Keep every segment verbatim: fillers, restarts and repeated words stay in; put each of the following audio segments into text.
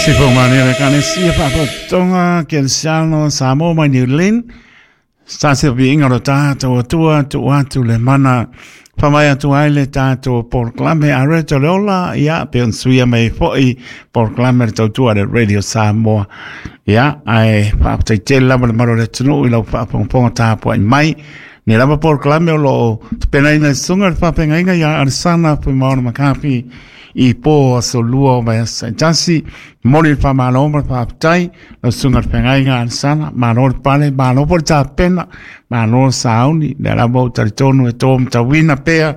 Sifo mania le kanesia whaapatonga Kelsiano Samoa mai New Zealand. Sa se viinga o tātou atua tu atu le mana whamai atu ai le tātou polokalame a Reto le Ola, ia, pe on suia mai foi polokalame le tautua le Radio Samoa. Ia, ai whaapatai tele lava le maro le tunu i lau whaapongaponga tāpua i mai. Ni lava polokalame o lo tupenaina i sunga le whaapengainga ia Arisana Fuimaono Makapi i pō aso lua o mai asa i tasi, moli le whamalo ma le whaapatai, lau sunga le whangaiga Arisana, malo le pale, malo po le tāpena, malo le sauni, le alama o taritonu e tō mtawina pea,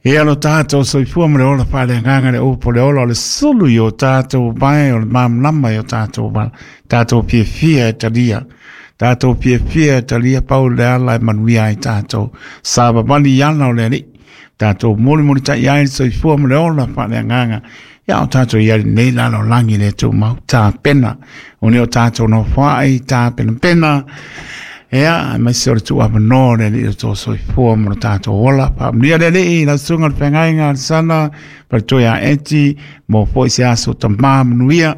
e alo tātou soifua ma le ola whale nganga le upo le ola o le sulu i o tātou mai o le mamlama i o tātou mai, tātou piefia e talia, tātou piefia e talia pau le ala e manuia ai tātou, sāpapani ana o le ali, tātou mori mori tai ai soifua ma le ola whale nganga, ia o tātou i ari nei lalo langi le tū mau tāpena, o ne o tātou no whaai tāpena pena, ea, mai se ore tū apa no le li o tō soifua mo le tātou ola, whaamnia le lei, lau sunga le whangainga Arisana, paretoe a eti, mo foi se aso tamā manuia,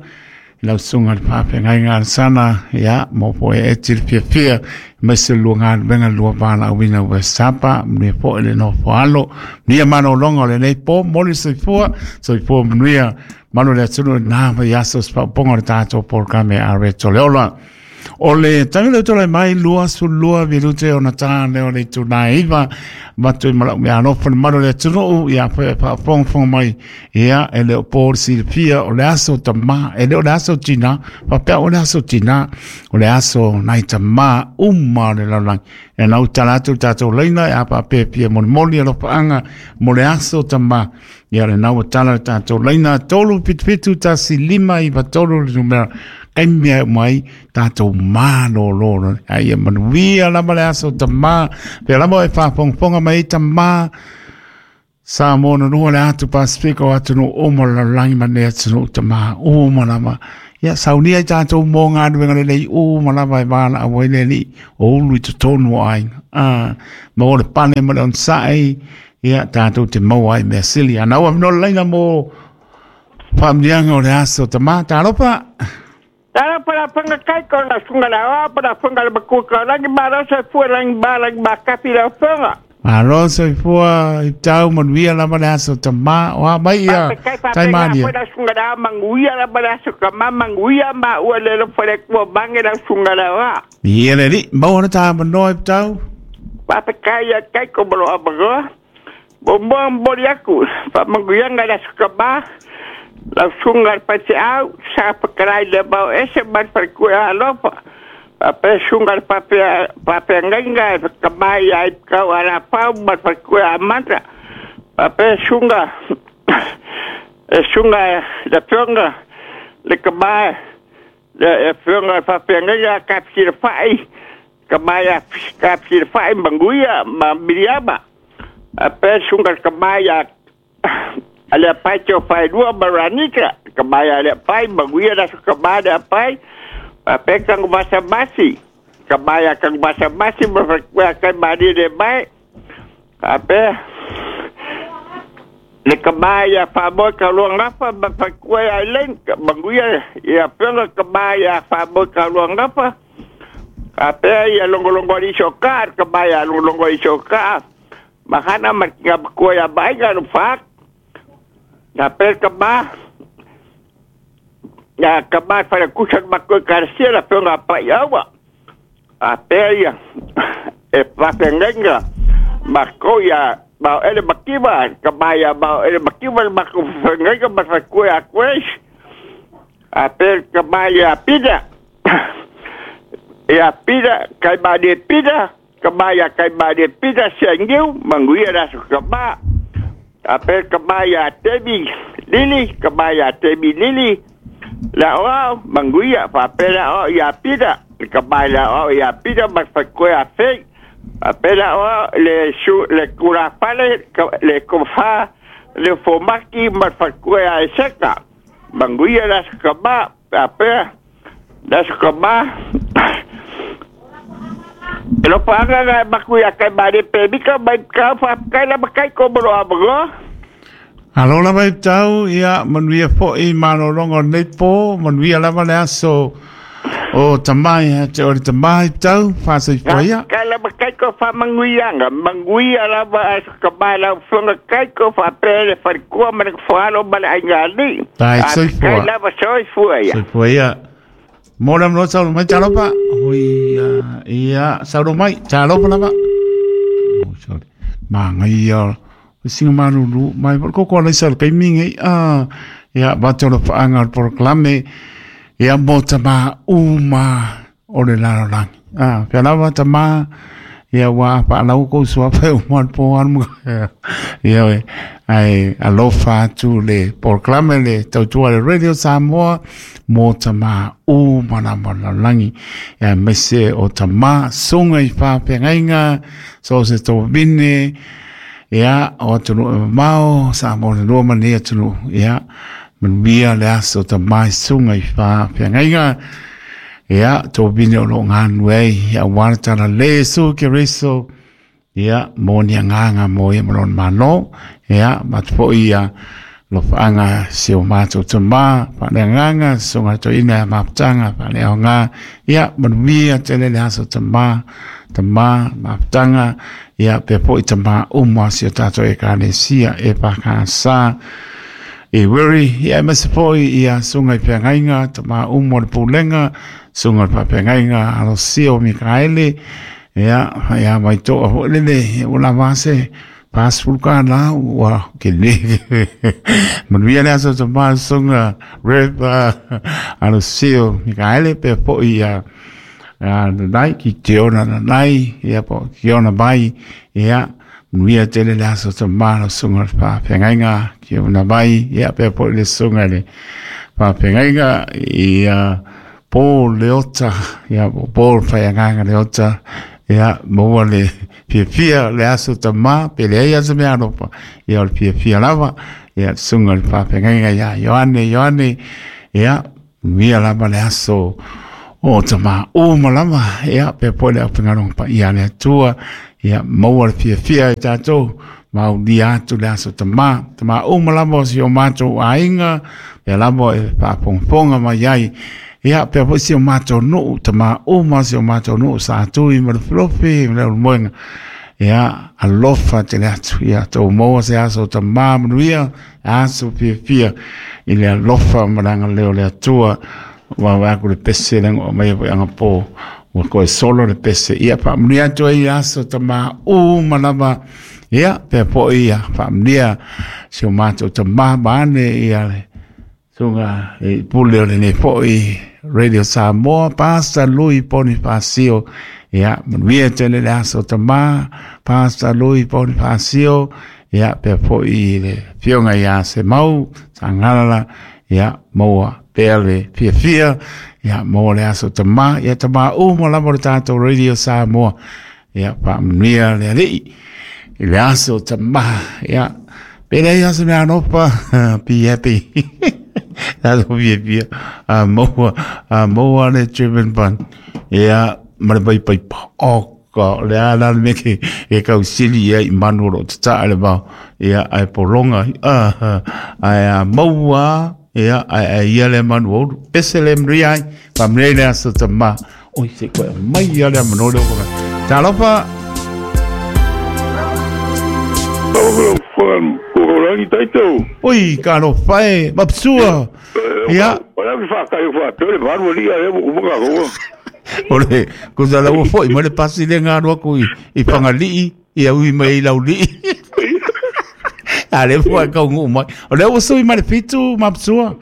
lau sunga le whawhengainga Arisana, ia, mo foi eti le fiafia, mai se lua ngā wenga lua wāla awina ua sapa, manuia foi le nofo alo, manuia manolonga o le nei pō, moli soifua, soifua manuia, manu le atunu nā vai aso spauponga le tātou polokalame a Reto le Ola. O le tangi le tole mai lua su lua virute o na tā leo le tūnā iwa matu i malau mea alofa le manu le atunuu ia pe whaafongafong mai ia e leo pō silafia o le aso tamā e leo le aso tina whapea o le aso tina o le aso nai tamā uma o le lalolagi e nau tala atu tātou leina e apa pepia molimoli alofaanga mo le aso tamā ia le nau tala le tātou leina tolu pitu pitu tasi lima iwa tolu le numera kai mea mai tātou mālōlō ai e manuia lava le aso tamā pe lava e whaafongafonga mai tamā Samoa na nua le atu Pasifika o atu no o mo la langi ma ne atu no tamā o ma lava ia saunia i tātou mō ngā nuenga le lei o ma lava e wāla a wai le li o ulu i totonu o aina ah, ma o le pane ma le onsa'i ia tātou te mau ai mea sili ana ua mino leina mō whaamnianga o le aso tamā tālopa. Tara para panga kai ko na sunga la wa para panga le ku ka langi ba ra sa fu langi ba langi ba ka fi la fanga. Malo soifua i tau manuia lava le aso tamā o a mai ia taimania. Pa sunga la manguia la para su ka ma manguia ma ua le lo fere ku bange la sunga la wa. Ia le li mau na tā manoa i tau. Pa pa kai ya kai ko bro abago. Bo bo bo yaku pa manguia la su ka ba. La sunga pa te au sa pa krai le bau ese mar pa ku alofa pa pe sunga pa pe pa pe ngenga ka mai ai ka ala pa mar pa ku amanta pa pe sunga e sunga le sunga le ka mai le sunga pa pe ngenga ka fi fai ka mai ka fi fai manguia ma miriama pa pe sunga ka mai ale pai te pai lua maranika ka mai ale pai manguia la ka mai ale pai pa pe kang basa basi ka mai kang basa basi ma ka ka mai de mai pa pe le ka mai ya fa bo ka lo ngapa ba pa ku ai len manguia ya pe ka mai ya fa bo ka lo ngapa pa pe ya longo longo ri shokar ka mai ya longo longo ri shokar mahana ma ka ku ya bai ka no fa na per ka ba na ka ba para kusa ma ko karsia la penga pa yawa a peria e pa pengenga ma ko ya ba ele makiba ka ba ya ba ele makiba ma ko pengenga ma fa ko ya kwes a per ka ba ya pida ya pida kai ba de pida ka ba ya kai ba de pida sengiu manguia la ka ba Ape kabaya tebi lili kabaya tebi lili la o manguia pa la o ya pida kabaya o ya pida ma fa ko ya fe ape la o le su le cura pale le kofa le fomaki ma fa ko ya seka manguia la kaba ape la kaba lo paga ga makuya kai mari pe bika mai ka fa kai la kai ko bro abgo. Alo lava i tau, ia, manuia fo'i malologa o lenei po, manuia lava le aso o tamai, ia te oe le tamā i tau, faasoifua ia. Kai lava kai ko whamanguianga, manguia lava a ka lau funga kai ko whapea le wharikua ma le whalo ma le ainga ali. Tai soifua. Kai lava soifua ia. Soifua ia. Mo le mlo saulo mai talofa. Hui ia saulo mai talofa lava. Oh sorry. Mangai singa maruru mai ko ko le sal kai mingi a ia ba tolo faanga o proclame ia mo tama uma o le lalo langi a pia lava tama ia wa pa lau ko sua pe o mo po an mo ia we ai alofa atu le proclame le tautua le Radio Samoa mo tama uma na mo langi ia mese o tama songa i fa pengainga so se to bine ia o atunu e mamao sa mo le lua mani atunu ia manuia le aso tamā i suga i faafeagaiga ia tobine o loo ganu ai ia auā le talalē Iesu Kereso ia mo ni agaga mo ia ma lona mālō ia matu foʻi ia lofaaga si o matou tamā faaleagaga susuga toeaina ia mafutaga faaleaogā ia manuia tele le aso tamā tamā mafutaga ia pea foʻi tamā uma si o tatou ekalesia e fakasā e wiri ia e mase foʻi ia suga i feagaiga tamā uma o le pulega suga o le faafeagaiga alosia o Mikaele ia ia mai toa foʻi lele ua lava se pasfulu ka la ua ke le manuia le aso tamā suga Rev Alosia o Mikaele pea foʻi ia nanai ki te ona nanai ia po ki ona mai ia manuia tele le aso tamā le suga le faafeagaiga ki ona mai ia pea foʻi le suga le faafeagaiga ia po Leota ia po Faiagaga Leota ia maua le fiafia le aso tamā pe leai aso mea alofa ia o le fiafia lava ia suga le faafeagaiga ia Ioane Ioane ia manuia lava le aso o tamā uma lava ia pea foʻi le aufaigaluega paia a le Atua ia maua le fiafia i tatou maulia atu le aso tamā tamā uma lava o si o matou aiga pea lava e faafogafoga mai ai ia pea foʻi si o matou nuu tamā uma si o matou nuu sa tui ma le felofi ma le ulumoega ia alofa tele atu ia tou maua se aso tamā manuia aso fiafia i le alofa ma le agalelei o le Atua wa wa ku le pese le ngo mai foi anga po ua koe solo le pese ia faamanuia atu ai aso tamā uma lava ia pea foʻi ia faamanuia si o matou tamā ma ane ia le suga e pule o lenei foʻi Radio Samoa Pastor Lui Ponifasio ia manuia tele le aso tamā Pastor Lui Ponifasio ia pea foʻi le fioga iā Semau Sagalala ia maua pea le fiafia ia maua le aso tamā ia tamā uma lava o le tatou Radio Samoa ia faamanuia le Alii i le aso tamā ia pe leai aso mea alofa be happy tatou fiafia a maua a maua le German bun ia ma le paipaipa o ka le a la le mea ke e kausili ia i manu o loo tataa le vao ia ae pologa ae a maua ia ae ae ia le manu oulu pese le manuia ai faamanuia i le aso tamā oi se koe mai ia le amanoa le okoga talofa. Oi kalofa e mapsua ia o le kusa ua foʻi mai le pasi le galo aku i i Fagalii ia ui mai i Laulii a le foʻi kauguu mai o lea ua sui mai le fitu mapsua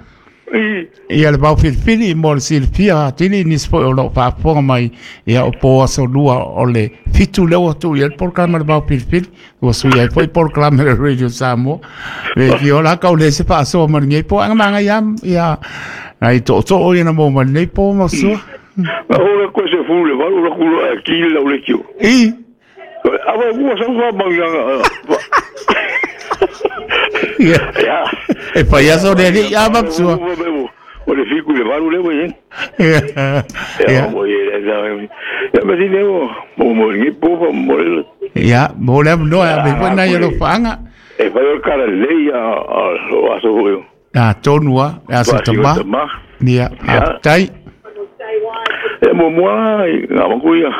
ia le vaofilifili mo le silafia atili nisi foʻi o loo faafofoga mai ia o po aso lua o le fitu lea ua tuu i ai le polokalame le vaofilifili ua sui ai foʻi polokalame le Radio Samoa le fiola kau le se faasoa ma lenei po aga magai ia ai tootoo ia na mo ma lenei po masua. Ora ko se fu le valu la kulo e ki la le kio. I. Ava ua sa fa manganga. Ia. E paiaso le ali ia mapsua. O le fiku le valu le we. Ia. Ia mo ye le Ya me si le mo mo mo ni po fa mo le. Ia, mo le no ya me foi na ia lo faanga. E fai o kara lei a o aso hoi. A tonu a, e aso tama. Ia, a tai. E mo mua i ngā maku ia.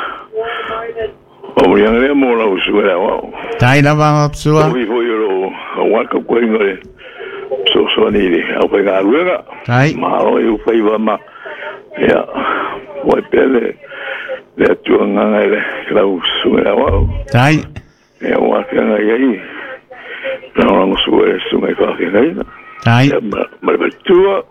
O mo ianga lea mo lau suera wao. Tai lava mapsua. O i foi o o waka koe ngore. So so ni le au kai ngā ruega. Tai. Malo i uwhai wa ma. Ia, wai pele. Le atua nganga i le lau suera wao. Tai. Ia waka ngā iai. Nā rango suera sunga i whake ngai. Tai. Ia, ma ma tua.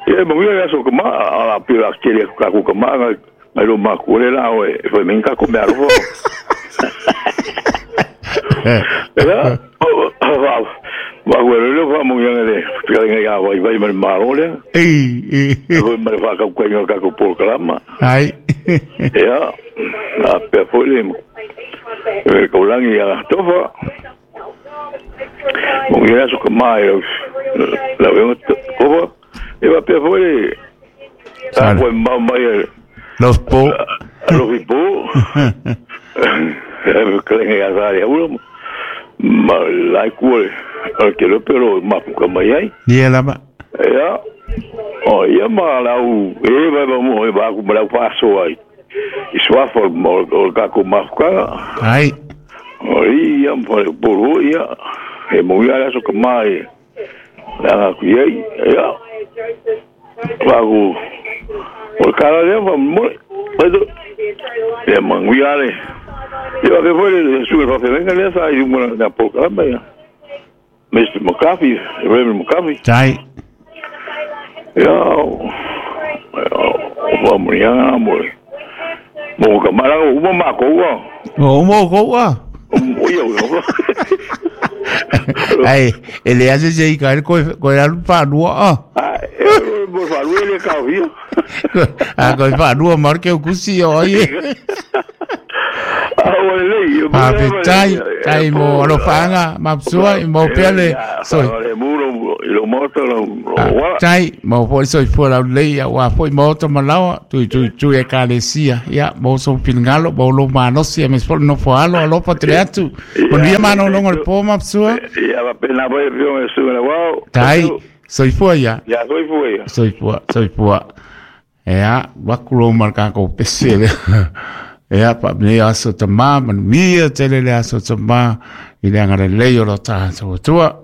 Ia mo ia so kama ala pira kele ka ku kama ngai mai ro ma ku le la o e foi men ka ko me aro. Era o va va go le va mo ia le pira ngai a vai vai mai malo le. Ei ei. Foi mai fa ka ku ngai ka ku por kalama. Ai. Ia a pe foi le. E ko langi ia tofa. Mo ia so kama e la o ko e va pe foi a foi mau mai los po los po e klenga ya sa ya ulo ma la ku ke lo pero ma ku ka mai ai ye la ba ya o ya ma la u e va va mo e va ku la paso ai i swa for mo o ka ku ma ka ai o ia por por ia e mo ia so ka mai la ku ia ya Vago, o cara leva muito, é manguiare. Eu até foi sugar para venga nessa aí uma na pouca lá mister McCarthy, Reverend McCarthy. Tai. Eu, vamos lá, amor. Bom, camarada, uma macoa. Uma macoa. Ai, ele hace se caer con con el panua. Ah, por favor, ele caiu. Ah, con panua marque o cusi oye. Ah, olha, Ah, tai, tai mo alofanga, mapsua, mo pele, soi. Lo moto lo tai, mo foi soi fora lei, wa foi moto malawa, tu tu tu e kalesia. Ya, mo so pingalo, mo lo manosia, me spol no foalo, alopa treatu. Bon dia mano longo el po mapsua. Ya va pena voy yo sube la wow. Tai, soi fua ya. Ya soi fua ya. Soi fua, soi fua. Ya, wakulo marka ko pesele. Ea pa me aso tama, manuia tele le aso tama, i le angara lei o lo taha tua.